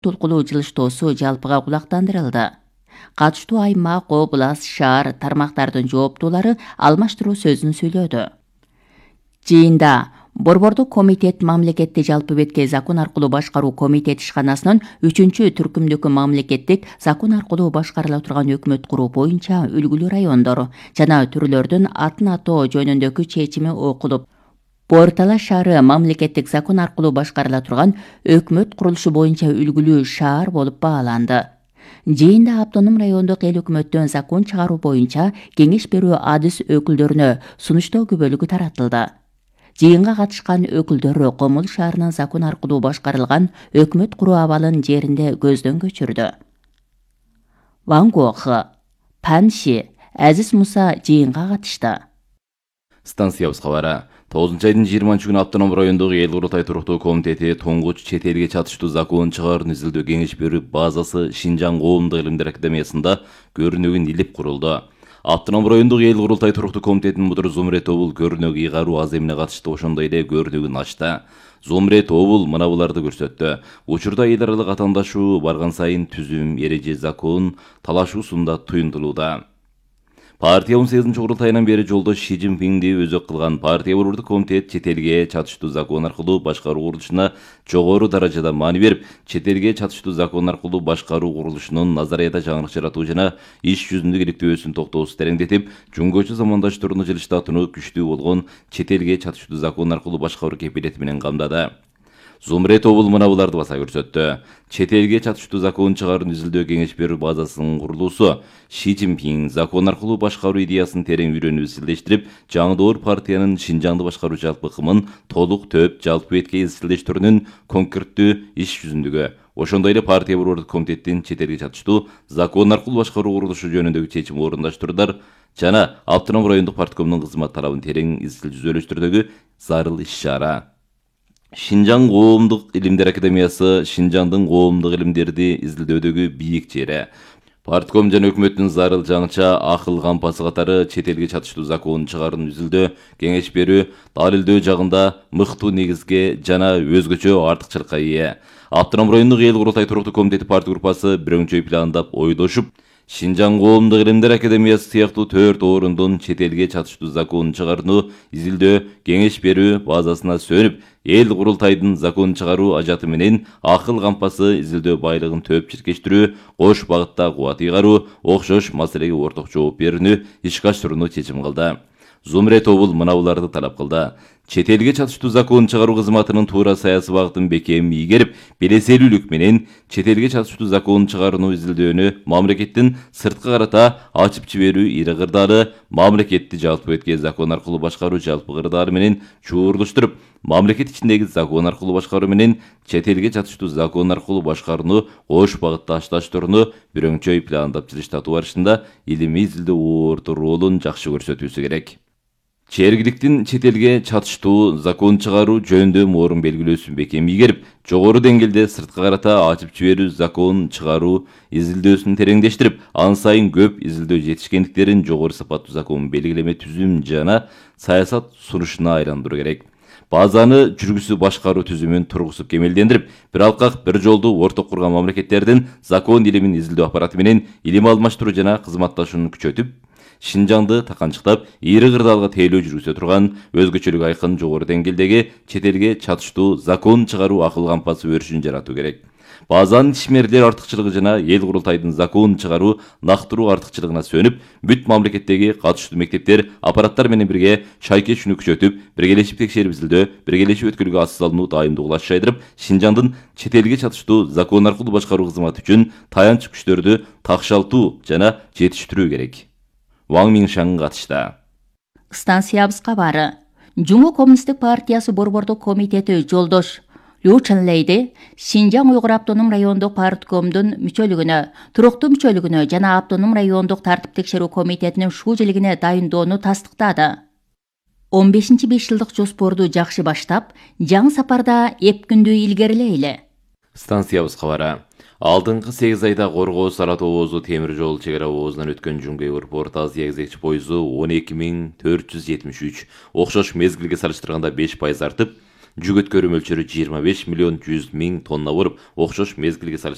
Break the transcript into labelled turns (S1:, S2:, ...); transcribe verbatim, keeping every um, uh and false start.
S1: толкулуу жылыштоосу жалпыга кулактандырылды. Катыштуу аймак, область, шаар, тармактардын жооптуулары алмаштыруу сөзүн сүйлөдү. Жыйында Борбордук комитет мамлекетти жалпы бетке закон аркылуу башкаруу комитет ишканасынын үчүнчү түркүмдөгү мамлекеттик закон аркылуу башкарыла турган өкмөт куруу боюнча үлгүлүү райондор жана түрлөрдүн атын атоо жөнүндөгү чечими окулуп, Портала шаары мамлекеттик закон аркылуу башкарыла турган өкмөт курулушу боюнча үлгүлүү шаар болуп бааланды. Жыйында автоном райондук эл өкмөттөн закон чыгаруу боюнча кеңеш берүү адис өкүлдөрүнө сунуштоо күбөлүгү таратылды. Жыйынга катышкан өкүлдөр Комул шаарынын закон аркылуу башкарылган өкмөт куруу абалын жеринде көздөн көчүрдү. Ван Гог, Панши, Азиз Муса жыйынга катышты.
S2: Станциябыз кабары. тогузунчу айдын жыйырманчы күнү автоном райондогу эл курултай туруктуу комитети туңгуч чет элге чатыштуу закон чыгаруун изилдөө кеңеш берүү базасы Шинжаң коомдук илимдер академиясында көрүнөгүн илип курулду. Автоном райондогу эл курултай туруктуу комитетинин мудуру Зумре Тобул көрүнөк ыйгаруу аз эмне катышты, ошондой эле көрүнөгүн ачты. Зумре Тобул мына буларды көрсөттү. Учурда эл аралык атаандашуу барган сайын түзүм, эреже, закон талашуусунда туюндулууда. Партия он сегизинчи курултайынан бери жолдош Ши Цзиньпинди өзөк кылган партия борбордук комитет чет элге чатыштуу закон аркылуу башкаруу курулушуна жогору даражада маани берип, чет элге чатыштуу закон аркылуу башкаруу курулушунун назарията жаңырык жаратуу жана иш жүзүндө иликтөөсүн токтоосуз тереңдетип, жөнгөчө замандаштарына жылышта атынуу күчтүү болгон чет элге чатыштуу закон аркылуу башкаруу кепилети менен камдады. Зумре Тобул мына буларды баса көрсөттү. Чет элге чатыштуу закон чыгаруун изилдөө кеңеш берүү базасынын курулуусу Ши Цзиньпин закон аркылуу башкаруу идеясын терең үйрөнүп изилдештирип, жаңдоор партиянын Шинжаңды башкаруу жалпы ыкымын толук төп жалпы бетке изилдештирүүнүн конкреттүү иш жүзүндөгү, ошондой эле партия борбордук комитеттин чет элге чатыштуу закон аркылуу башкаруу курулушу жөнүндөгү чечим орундаштыруудар жана автоном райондук парткомдун кызмат талабын терең изил жүзөлөштүрүүдөгү зарыл иш-чара. Шинжаң коомдук илимдер академиясы Шинжаңдын коомдук илимдерди изилдөөдөгү бийик жери. Партком жана өкмөттүн зарыл жаңыча акыл кампасы катары чет элге чатыштуу закон чыгаруун изилдөө, кеңеш берүү, далилдөө жагында мыктуу негизге жана өзгөчө артыкчылыкка ээ. Автоном райондук эл курултай туруктуу комитети партия группасы бирөңчөй пландап ойдошуп, Шинжаң коомдук илимдер академиясы сыяктуу төрт орундун чет элге чатыштуу закон чыгарууну изилдөө, кеңеш берүү базасына сөнүп, эл курултайдын закон чыгаруу ажаты менен акыл кампасы изилдөө байлыгын төп чиркештирүү, кош багытта кубат ыйгаруу, окшош маселеге орток жооп берүүнү ишке ашырууну чечим кылды. Зумре Тобул мына буларды талап кылды. Чет элге чатыштуу закон чыгаруу кызматынын туура саясий багытын бекем ийгерип, белеселүүлүк менен чет элге чатыштуу закон чыгарууну изилдөөнү мамлекеттин сырткы карата ачып жиберүү ири кырдаалы, мамлекетти жалпы бетке закон аркылуу башкаруу жалпы кырдаалы менен чуурлуштуруп, мамлекет ичиндеги закон аркылуу башкаруу менен чет элге чатыштуу закон аркылуу башкарууну кош багытта ашташтырууну бирөңчөй пландап жылыштатуу барышында илимий изилдөө орто ролун жакшы көрсөтүүсү керек. Чергиликтин чет элге чатыштуу закон чыгаруу жөнүндө морун белгилөөсүн бекем ийгерип, жогору деңгээлде сырткы карата ачып жиберүү закон чыгаруу изилдөөсүн тереңдештирип, ан сайын көп изилдөө жетишкендиктерин жогору сапаттуу закон белгилеме түзүм жана саясат сунушуна айландыруу керек. Базаны жүргүсү башкаруу түзүмүн тургузуп кемелдендирип, бир алкак бир жолду орток курган мамлекеттердин закон илимин изилдөө аппараты менен илим алмаштыруу жана кызматташууну күчөтүп, Шинжаңды таканчыктап, ири кырдаалга тейлөө жүргүзө турган өзгөчөлүгү айкын жогору деңгээлдеги чет элге чатыштуу закон чыгаруу акыл кампасы өрүшүн жаратуу керек. Базанын ишмерлер артыкчылыгы жана эл курултайдын закон чыгаруу нактыруу артыкчылыгына сөнүп, бүт мамлекеттеги катыштуу мектептер, аппараттар менен бирге шайкечүүнү күчөтүп, биргелешип текшерип изилдөө, биргелешип өткөрүүгө атсыз алынуу даимдыгын ачайдырып, Шинжаңдын чет элге чатыштуу закон аркылуу башкаруу кызматы үчүн таянч күчтөрдү такшалтуу жана жетиштирүү керек. Ван Миншаң катышты.
S1: Станциябыз кабары. Жуму коммунисттик партиясы борбордук комитети жолдош Лю Чанлейди Шинжаң уйгур автоном райондук парткомдун мүчөлүгүнө, туруктуу мүчөлүгүнө жана автоном райондук тартип текшерүү комитетинин шуулуулигине дайындоону тастыктады. он бешинчи беш жылдык жоспорду жакшы баштап, жаңы сапарда эп күндү илгерилейли.
S2: Станциябыз кабары. Алдыңкы сегиз айда Коргоо Саратов обозу темир жол чек ара обозунан өткөн Жумгей порт Азия кезекчи пойызу он эки миң төрт жүз жетимиш үч, окшош мезгилге салыштырганда беш пайыз артып, жүк өткөрүү мөлчөрү жыйырма беш миллион жүз миң тонна болуп, окшош мезгилге салыш